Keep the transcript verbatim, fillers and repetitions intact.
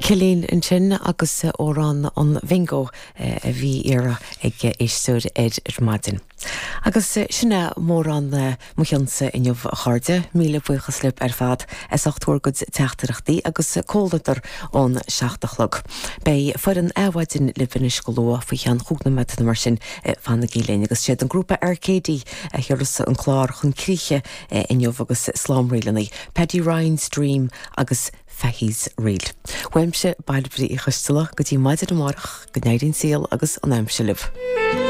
Cillín ansin agus amhrán an Bhingo a bhí iarrtha ag éisteoir ar ar maidin. Agus sin é mórán mo chionsa inniu a chairde, míle buíochas libh ar fad as ucht bhur gcuid teachtaireachtaí agus comhluadar ón seacht a chlog. Beidh foireann Adhmhaidin libh anois go luath faoi cheann cúig nóiméad nó mar sin fanaigí linn agus siad an grúpa Arcady a chuirfeas an clár chun críche inniu agus slánrílanna, Paddy Ryan's Dream agus Fahy's Reel. Uaimse Bairbre Uí Choisteala go dtí maidin amárach go n-éirí an saol agus an aimsir libh.